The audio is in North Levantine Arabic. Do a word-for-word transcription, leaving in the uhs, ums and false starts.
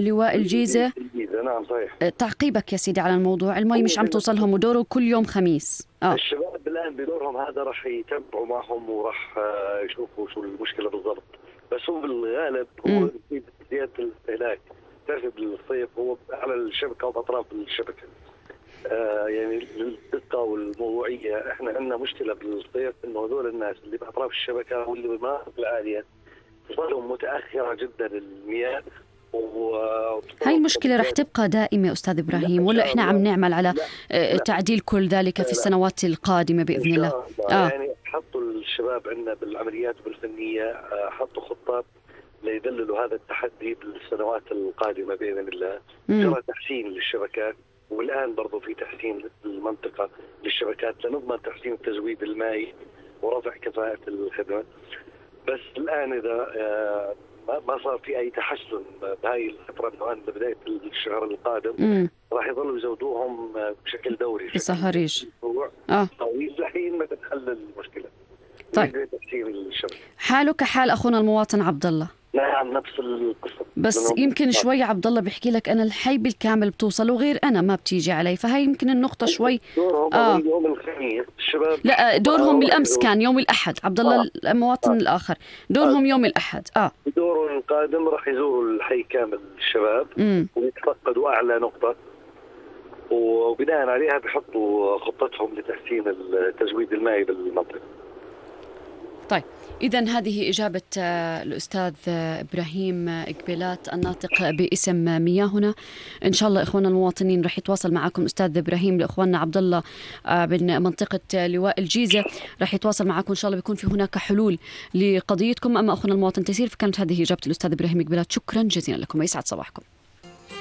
لواء الجيزة. نعم صحيح. تعقيبك يا سيدي على الموضوع، المي مش عم توصلهم ودوره كل يوم خميس. آه. الشباب الآن بدورهم هذا راح يتابعوا معهم وراح يشوفوا شو المشكلة بالضبط، بس هو بالغالب هو زيادة الاستهلاك. تعرف بالصيف هو على الشبكة وأطراف الشبكة. آه يعني للدقة والموضوعية احنا عندنا مشكلة بالصيف انه هذول الناس اللي بأطراف الشبكة واللي بالمناطق العالية تصلهم متأخرة جدا المياه. هاي المشكلة رح تبقى دائمة أستاذ إبراهيم، ولا إحنا عم نعمل على لا لا تعديل كل ذلك في السنوات القادمة بإذن الله؟ آه. يعني حطوا الشباب عندنا بالعمليات والفنية حطوا خطات ليدللوا هذا التحدي بالسنوات القادمة بإذن الله. جرى تحسين للشبكات، والآن برضو في تحسين المنطقة للشبكات لنضمن تحسين التزويد المائي ورفع كفاءة الخدمة. بس الآن إذا ما صار في أي تحسن بهاي الفترة الآن ببداية الشهر القادم راح يظلوا يزودوهم بشكل دوري في صهريج اه طويل لحين ما تتحل المشكلة. طيب حاله كحال أخونا المواطن عبد الله. نعم نفس القصة، بس يمكن شوي عبد الله بيحكي لك أنا الحي بالكامل بتوصل وغير أنا ما بتيجي علي، فهي يمكن النقطة شوي. دورهم آه. يوم الخميس الشباب، لا دورهم بالأمس كان يوم الأحد. عبد الله آه. المواطن آه. الآخر دورهم آه. يوم الأحد. اه دورهم القادم راح يزوروا الحي كامل الشباب ويتفقدوا أعلى نقطة، وبناء عليها بيحطوا خطتهم لتحسين التزويد المائي بالمنطقة. طيب إذن هذه إجابة الأستاذ إبراهيم إقبالات الناطق باسم مياهنا. إن شاء الله إخواننا المواطنين رح يتواصل معكم أستاذ إبراهيم لإخواننا عبد الله من منطقة لواء الجيزة، رح يتواصل معكم إن شاء الله بيكون في هناك حلول لقضيتكم. أما أخونا المواطن تيسير، فكانت هذه إجابة الأستاذ إبراهيم إقبالات. شكرا جزيلا لكم ويسعد صباحكم.